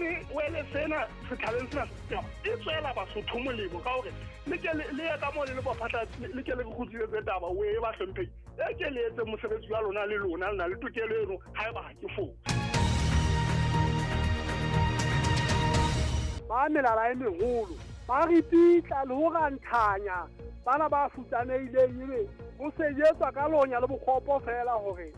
Se wele sena sethaleng sena e tswela Basotho molemo ka hore le ke le ye ka moo le le bophatla, le ke le re kgutlisetse taba o e ba hlomphehi, e ke le etse mosebetsi wa lona, le lona le na le tokelo eno haeba ha ke fose. Ba melala e meholo ba re pitla le ho ranthanya bana ba futsanehileng, ebe ho sejetswa ka lonya le bokgopo feela hore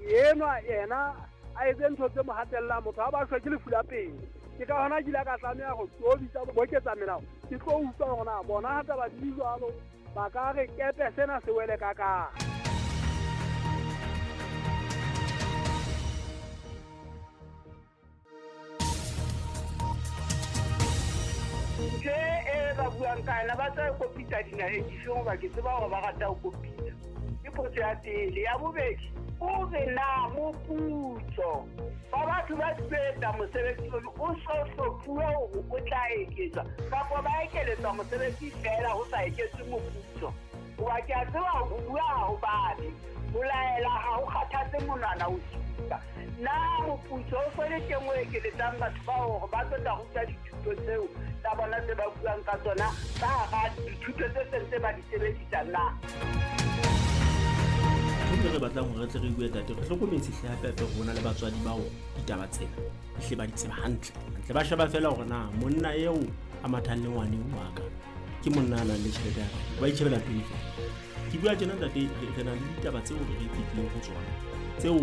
enwa yena a etse ntho tse mo hatellang. Motho ha ba shwe ke lefu la pele, ke ka hona ke ile ka tlameha ho tlo bitsa boketsa melao, ke tlo utlwa hore na bona ha taba di le jwalo ba ka re kepe sena se wele ka kae. Ntho e ba buang ka yona, ba tla kopitsa dinaheng difeng? Hoba ke tseba hore ba rata ho kopitsa. Ke potso ya pele. Ya bobedi, o re na moputso wa batho ba etsa mosebetsi ono o so hlophuwe hore o tla eketswa, kapa ba ekeletswa mosebetsi feela ho sa eketswe moputso? Hoba ke a tseba ho bua ha ho babe, ho laela ha ho kgathatse monwana o supa. Na moputso o so le teng o ekeletsang batho ba hore ba tlo tla ruta dithuto tseo tsa bona tse ba buang ka tsona ka hara dithuto tse seng tse ba di sebedisa na? Ntho e re batlang hore re tle re bue, tate, re hlokometse hle hape hape rona le batswadi bao ditaba tsena ehle ba di tseba hantle hantle. Ba sheba fela hore na monna eo a mathang le ngwaneng wa ka ke monna a nang le tjhelete ya kae, ba itjhebela pele fela. Ke bua tjena, ntate, re na le ditaba tseo re fetileng ho tsona tseo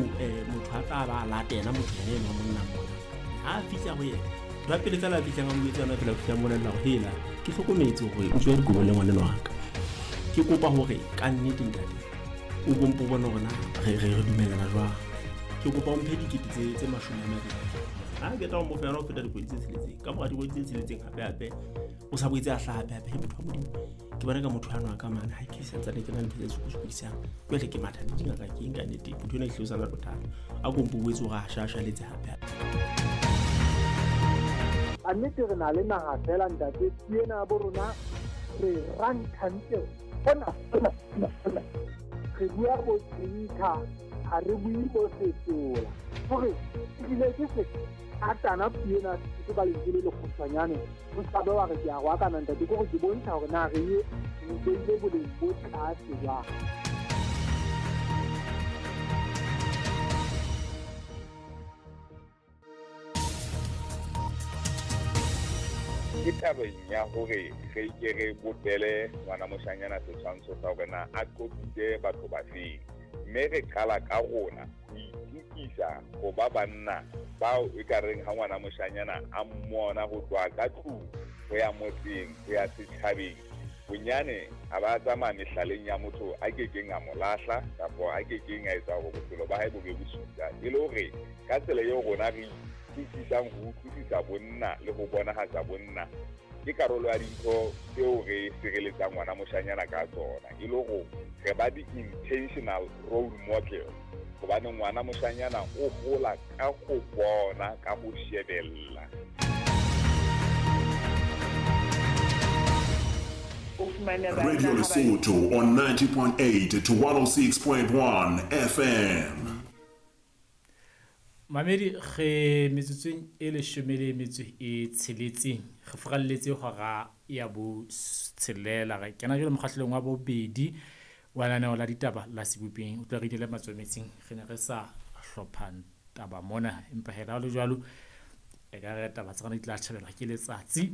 motho a tla ba a latela motho yena eno wa monna mona. Ha a fihla ho yena, ntho ya pele fela a fihlang a mo etsa yona fela, o fihla molella hore hela, ke hlokometse hore o tswa dikobo le ngwaneno wa ka, ke kopa hore ka nnete, ntate, o bompo bone hore na re dumellana jwang, ke kopa o mphe 20 tse 20. Ha ke tla o mo fa yona ho feta dikgwedi tse 6. Ka mora dikgwedi tse 6 hape hape o sa boetse a hlaha hape hape. Motho wa Modimo, ke bona ka motho ano a ka mane ha ke santsane ke na le ntho tse sokodisang. Jwale ke matha le dingaka ke eng ka nnete, motho ena e hlile o sana bothata, a kompo boetse hore a shashaletse hape hape. A nnete re na le naha fela, ntate, ke ena bo rona re ranthantse hona hona hona hona. Re bua bo trinka, ha re bue bo setola hore ebile ke se atana puo ena ke ka lentswe le lekgutshwanyane, o ska be wa re ke a roakana, ntate, ke hore ke bontsha hore na re ye re beile boleng bo tlase jwang. Ke tabeng ya hore re ke re bopele ngwana moshanyana setshwantsho sa hore na a qopitse batho ba feng, mme re qala ka rona ho itukisa ho ba banna bao e ka reng ha ngwana moshanyana a mmona ho tloha ka tlung ho ya motseng ho ya setjhabeng, bonyane a ba tsamaya mehlaleng ya motho a kekeng a mo lahla kapa a kekeng a etsa hore bophelo ba hae bo be bosula, e le hore ka tsela eo rona re itukisang ho utlwisisa bonna le ho bonahatsa bonna ke karolo ya dintho tseo re sireletsang ngwana moshanyana ka tsona, e le hore re ba di-intentional role model, hobane ngwana moshanyana o hola ka ho bona, ka ho shebella. O fumane banna Radio ha ba Lesotho on 90.8 to 106.1 FM. Mamedi, re metsotsong e 16 re furalletse hora ya bo 6. Re kena jwale mokgahlelong wa bobedi wa lenaneo la ditaba la Sebopeng. O tla re inele matswametsing, re ne re sa hlopha taba mona, empa hela ha le jwalo e ka re taba tsa rona di tla tjhabelwa ke letsatsi,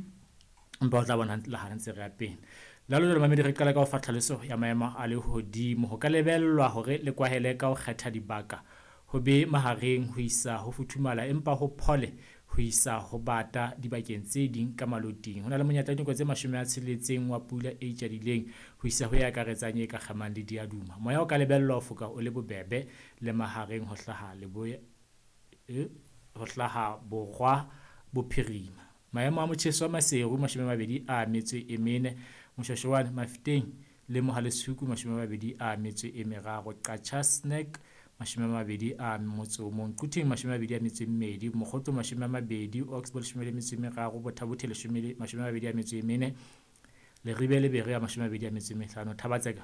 empa o tla bona la ha ntse re ya pele. Jwalo jwalo, mamedi, re qala ka ho fa tlhaloso ya maemo a lehodimo. Ho ka lebellwa hore le kwahele ka ho kgetha dibaka, ho be mahareng ho isa ho futhumala empa ho phole ho isa ho bata dibakeng tse ding ka maloting. Ho na le monyetla wa dinako tse 60 wa pula e itjadileng ho isa ho e akaretsang e ka kgamang le diaduma. Moya o ka lebellwa ho foka o le bobebe le mahareng ho hlaha leboya ho hlaha borwa bophirima. Maemo a motjheso wa Maseru 24, Moshwashwane, Mafeteng le Mohale'shoek 23, Qacha's Nek 21, Quthing 22, Mokgotlo 20, Oxbow 13, Botha-Bothe 24, Leribe le Berea 25, Thaba-Tseka.